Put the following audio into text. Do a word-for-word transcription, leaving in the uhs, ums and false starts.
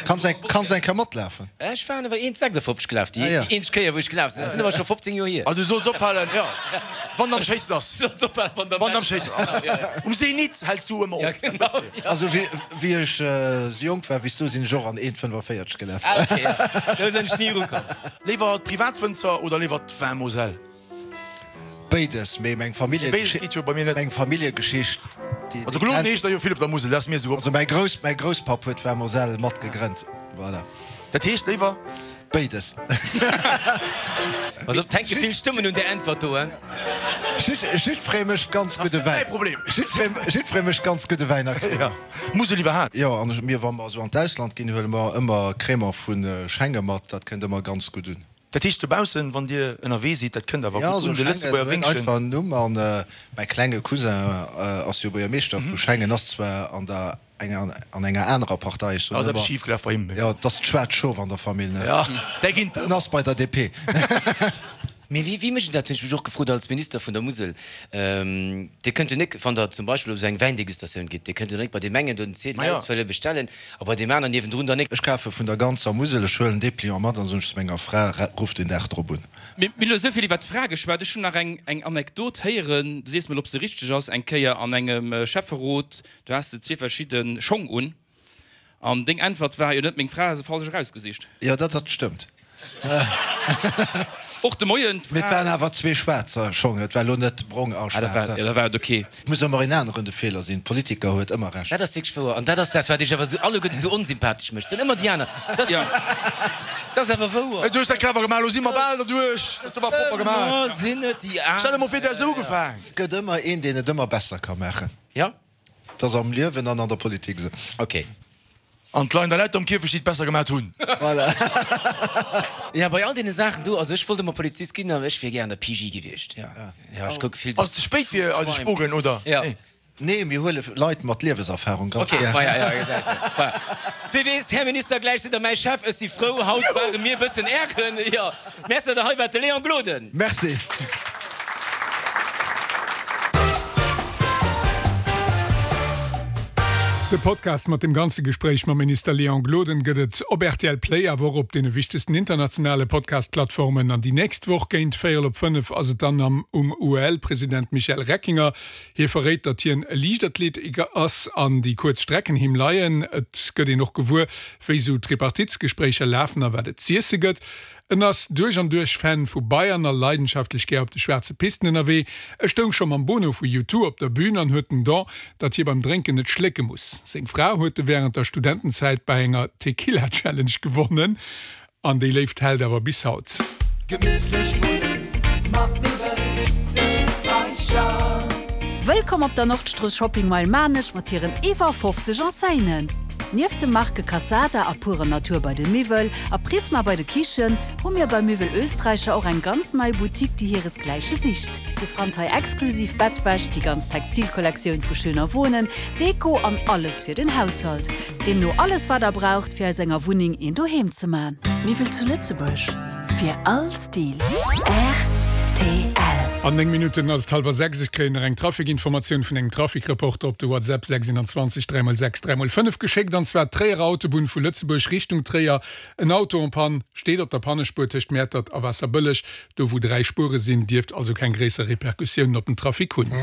Kanns eng kanns eng Kéier matlafen? Ech waren awer eent sechsafofzeg gelaf, déi Ah ja. eenzeg Kéier wou ech gelaf sinn. Dat sinn awer scho fofzéng Joer hier. Also du solls ophalen, jo, wann am schéinsten ass. Du solls ophalen, wann Wann am schéinsten ass. Um Zenit häls du ëmmer Ja, op. genau. Also wéi wéi ech sou jonk war wéi s du, sinn ech och an eent fënnefaféierteg gelaf. Ah ok, ja. Do sinn ech ni erukomm. Léiwer d'Privatwënzer oder léiwer d'Vin Moselle? Béides, mee meng Béides geet jo bei mir net. Meng Familljegeschicht, déi Also Gloden heescht der jo vill op der Musel, dat ass mir esou Also mäi Grouss, mäi Grousspapp huet d'Vin Moselle matgegrënnt, voilà. Dat heescht léiwer? Béides. Pass op, 't hänke vill Stëmmen un där Äntwert do, hein. Jiddferee mécht ganz Ass gudde net mäi Wäin. Problem. Jiddferee mécht ganz gudde Wäin a Crémant. Musel iwwerhaapt. Jo, an mir, wa mer esou an d'Ausland ginn, huele mer ëmmer Crémant vu Schengen mat, dat kënnt ëmmer ganz gutt un. Dat heescht dobaussen, wann Dir ënnerwee sidd, dat kënnt awer Jo, gutt esou un, de Schengen Lëtzebuerger huet Wéngchen. einfach en Numm. An mäi klenge Cousin ass jo Buergermeeschter vu Schengen, ass zwar an der enger an enger anerer Partei, ech soen Ass eppes ëmmer, schif gelaf bei him? jo, et ass d'schwaarzt Schof an der Famill, ne? Jo, där ginn. En ass bei der D P. Mee wéi wéi mécht een dat, hunn ech mech och gefrot als Minister vun der Musel. Dir kënnt jo nik, wann Der zum Beispill op esou eng Wäindegustatioun gitt, Dir kënnt jo nik bei deem engen do den Ziedel Ma jo. ausfëllen, bestellen a bei deem aneren niewendrun dann nik. Ech kafe vun der ganzer Musel, ech huelen Depliant mat an soen ech zu menger Fra, Ruff den Dag drop un. Mir hunn elo esou vill iwwer d'Fra geschwat. Ech hunn nach eng eng Anekdot héieren, du sees mol, ob se richteg ass, Eng Kéier an engem Schäfferot, do has de zwee verschidde Schong un an deng Äntwert war, Jo, net meng Fra, se falsch erausgesicht. Jo, dat dat stëmmt. Och de Moien Mee et d'Fra. waren awer zwee schwaarzer Schong, et war elo net brong a Ah, dat war, schwaarz. jo, da war et ok. Et muss ëmmer een aneren de Feeler sinn, Politiker huet ëmmer Recht. Dat ass wierklech wouer. An dat ass dat, wat iech awer esou alleguerten esou onsympathesch mécht. Et sinn ëmmer déi aner. Dat Ja. dat ass awer wouer. Du hues dat clever gemaach, elo si mer bal derduerch. Dat hues de awer propper gemaach. Ëmmer sinn et déi aner. Stell der mol vir, du häss esou ugefaang. Et gëtt ëmmer een, deen et ëmmer besser ka maachen. Ja. Dat ass am Liewen an an der Politik esou. Ok. An d'leien der Leit am Kierfecht, déi et besser gemat hunn. Voilà. Ja, bei all deene Saachen do, also ech wollt ëmmer Polizist ginn, awer ech wier gär an der P J gewiescht. Ja, ja, ech kucke vill sou. Ass ze spéit fir eise Spogen, oder? Ja. Nee, mir huele Leit mat Lieweserfahrung ganz Ok, gär. voilà, ja, gesäis de. Voilà. Wie weess, Här Minister, gläich sidd Der mäi Chef. Ech si frou, haut ware mir e bëssen Ären. Jo, merci, datt Der hei waart, de Léon Gloden. Merci. De Podcast mat dem ganze Gespréich mam Minister Léon Gloden gëtt et op R T L Play, awer och op deene wichtegsten internationale Podcast-Plattformen. An déi nächst Woch géint véierel op fënnef ass et dann am um U E L-President Michel Reckinger. Hie verréit, datt hien e Liichtathlet ass an déi kuerz Strecken him leien. Et gëtt een och gewuer, wéi sou Tripartitsgespréicher lafen a wat et z'iesse gëtt. En ass duerch an duerch Fan vu Bayern a leidenschaftlech gär op de schwaarze Pisten ënnerwee. E stoung scho mam Bono vu U zwei op der Bün an huet den Don, datt hie beim Drénken net schlécke muss. Seng Fra huet e wärend der Studentenzäit bei enger Tequila-Challenge gewonnen an déi Léift hält awer bis haut. Gemittlech wunnen mat Miwwel Österreicher. Wëllkomm op der Nordstrooss Shopping Mile Maarnech mat hiren iwwer fofzeg Enseignen. Nieft de Marke Cassada a Pure Natur bei de Miwwel a Prisma bei de Kichen hu mir bei Miwwel Österreicher och eng ganz nei Boutique, déi hiresgläiche sicht. Dir fannt hei exklusiv Bettwäsch, déi ganz Textilkollektioun vu Schöner Wohnen, Deko an alles fir den Haushalt. Deemno alles wat der braucht fir aus enger Wunneng een Doheem ze man. Miwwel zu Lëtzebuerg fir all Stil. R T L. An néng Minutten ass et hallwer sechs. Ech kréien nach eng Trafikinformatioun vun engem Trafikreporter op de WhatsApp sechsundzwanzeg dräi mol sechs dräi mol fënnef geschéckt, an zwar Tréierer Autobunn vu Lëtzebuerg Richtung Tréier. En Auto en panne steet op der Pannespuer tëscht Mäertert a Waasserbëlleg, do wou dräi Spuere sinn, dierft also keng gréisser Repercussiounen op den Trafic hunn.